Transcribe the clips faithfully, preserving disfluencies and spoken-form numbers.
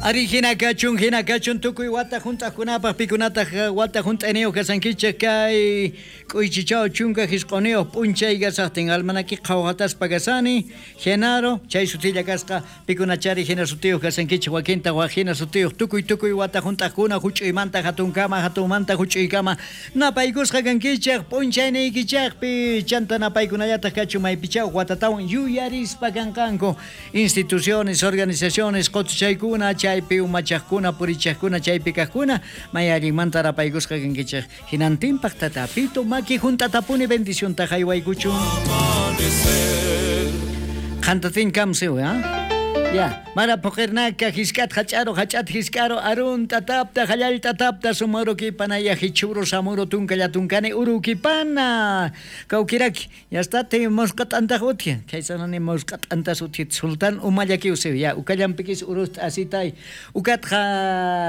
Ari hina kachun, hina kachun tukuy wata hunt'aqkunapaq pikunataq wata hunt'ayniyuq kasankichik kay k'uychichaw chunka hisq'uniyuq p'unchay kasaqtin almanaki qhawhataspa kasani Genaro chay sutilla kasqa pikunachari hina sutiyuq kasankichik wakinta waq hina sutiyuq tukuy tukuy wata hunt'aqkuna huch'uymanta hatunkama hatunmanta huch'uykama napaykusqa kankichik p'unchayniykichikpi chanta napaykunallataq kachun maypichaw watatawan yuyarispa kanqanku instituciones, organizaciones qutuchaykuna chay chaypi umachaqkuna purichaqkuna chaypi kaqkuna may allinmanta rapaykusqa kankichik hinantinpaq tatapito maki juntatapuni bendicionta haywaykuchun qantatin kamsiw ha Ya, mara poqirnaka hisk'at hach'aro hach'at hisk'aro arun tatapta hallal tatapta sumarukipana ya hichuro samuro tunkalla tunkani urukipana kawkiraki ya está te mosqat antaq utya kaysanani mosqat antas utya sultan umallakiusiw ya ukallampikis urust asitay ukat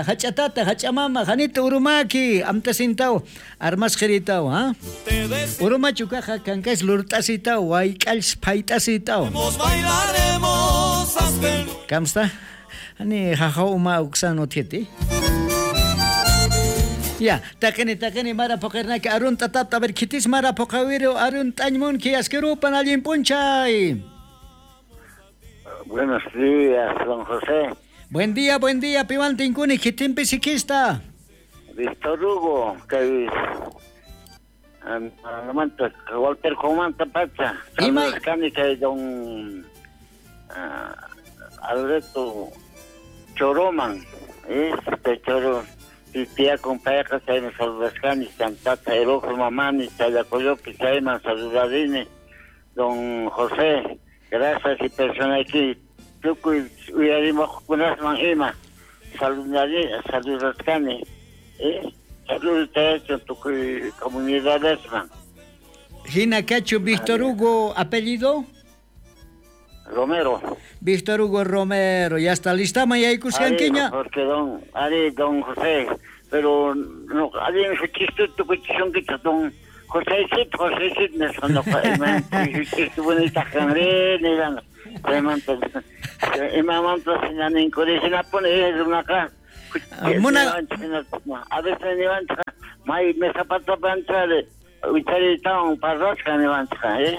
hach'atata hach'amama hanita urumaki amtasintaw armasqiritaw ha urumachu kaqa kankays lurt'asitaw wayk'alls phayt'asitaw Kamsta? Ani jaja uma uksan utieti. Ya, taqini taqini mara poqirnaki arun tatapta a ver kitis mara poqawiru arun t'añmunki asquirupan allin p'unchay. Buenos días, don José. Buen día, buen día, piwan tinkuni kitinpi sikista. Víctor Hugo, kay Walter Comanta pacha. Ima kani kay don Uh, Alberto Choroman, este Choro, tía compañera, chayman saludascani, chantata, Erojo Mamani, Chayacoyopi, chayman saludadini, don José, gracias y persona aquí, tukuy uyarimuqkunasman ima, saludadini, saludascani, eh, saludos tukuy comunidadesman. Hina Cacho, Víctor Hugo, apellido? Romero. Víctor Hugo Romero, ya está lista, mayaykusqankiña. Porque don, ari don José, pero no, alguien su chiste tukuchishunkichik don José, José, no, no, bonita kanre, niran, imamanta sinaninkurishinapuni runaqa. Muna a veces niwanchika may mesapatapanchari ucharitawan parrasqa niwanchika, eh.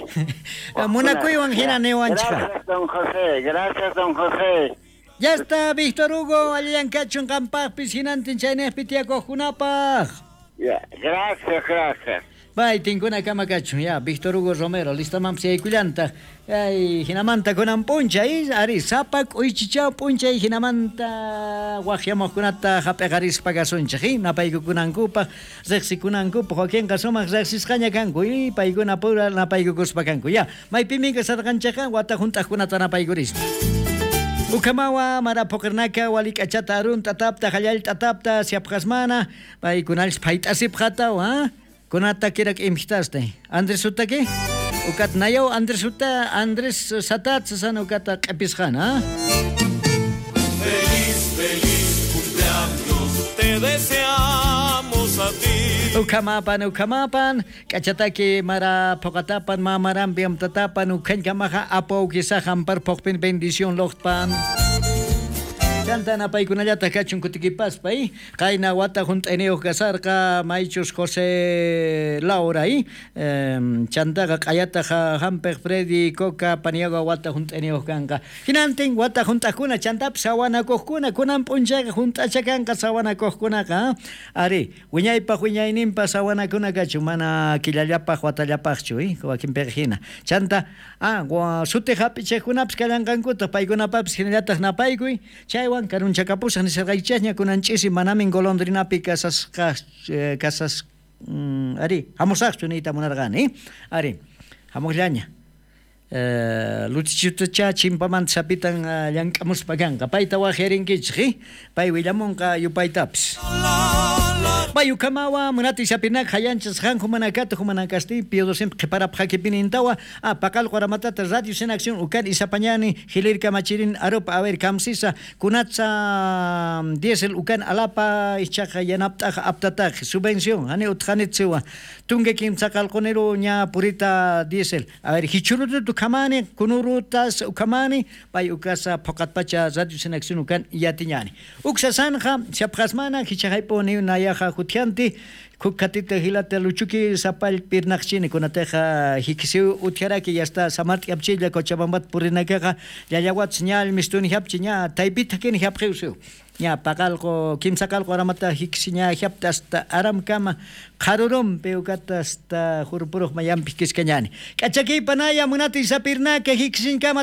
Munakuywan hina niwanchika. Gracias, don José, gracias, don José. Ya está, Víctor Hugo, allanqachun qampaqpis hinantin chaynejpi tiyakuqkunapaq. Ya, gracias, gracias. Bay, tinkuna kama kachun, ya, Víctor Hugo Romero, listamanpis yaykullantaq. Ay, hinamanta kunan p'unchay, ari, sapa k'uychichaw p'unchay hinamanta waqyamuqkunata hap'iqarispa kasunchik, eh, napaykukunankupaq, riqsikunankupaq, wakinqa sumaq riqsisqaña kanku, eh, paykuna pura napaykukuspa kanku, ya. Maypimi kasarqanchikqa wata hunt'aqkunata napaykurispa. Ukamawa, mara poqirnaka, walik'achata arun tatapta, hallal tatapta, siapqasmana, paykunallis phayt'asipqataw, ha? Kunata kirak imhitaste. Andrés utaki? Ukat nayaw Andrés uta Andrés satat san ukata q'episqana, ha? Feliz, feliz cumpleaños te deseamos a ti. Ukamapan, ukamapan, k'achataki mara poqatapan, mamarampi amtatapan, ukhankamaqa apawkisa hampar poqpin bendición loqtpan. Chanta napaykunallataq kachun kutikipaspa, eh? Qayna wata hunt'ayniyuq kasarqa maychus José Laura, eh? Chantaqa q'ayataq hampiq Freddy Coca Paniagua wata hunt'ayniyuq kanqa. Hinantin wata hunt'aqkuna chantapis sawanakuqkuna kunan p'unchayqa hunt'acha kanqa sawanakuqkunaqa, ari wiñaypaq wiñayninpa sawanakuna kachun mana killallapaq watallapaqchu, eh? Wakinpiqa hina. Chanta ah, sutiq hap'ichiqkunapis kallanqankutaq paykunapapis hinallataq napaykuy chaywan karunchakapusaq nisarqaychikña kunan ch'isi manamin golondrinapi kasasqa kasas mm, ari hamusaqchu niyta munarqani, ari hamuqllaña. Eh, Luchichutacha chimpamanta sapitan uh, llank'amuspa kanqa payta waqyarinkichik, eh? Pay willamunqa yupaytapis. Bayukamawa munati sapinak hayanchas hanju manakatu humanakasti piodo siempre qhiparap hakipinintawa a paqal qoramatata radio sin acción ukan isapañani hilir kamachirin aropa a ver kamsisa kunatsa diesel ukan alapa ichaqa yanaptaqa aptataq subvención hani utqanitziwa tunge kimsa qalqoniru ña purita diesel a ver hichurutu kamani kunurutas ukamani pay ukasa phoqatpacha radio sin acción ukan yatiñani uksasanja chapqasmana hichaqaypuni nayaja jutjanti kukatita hilata luchuki sapal pirnaqchini kunateja hikisiu utjaraki ya está samarti apchilla Cochabambat purinakaqa llallawats ñal mistuni japchi ña taypita kini japqiusiu ña paqalqo kimsaqalqo aramata hikisi ña japta hasta aramkama qarurumpi ukata hasta jurpuruq mayampi kiskañani k'achakiypanaya munati sapirnaka hikisinkama.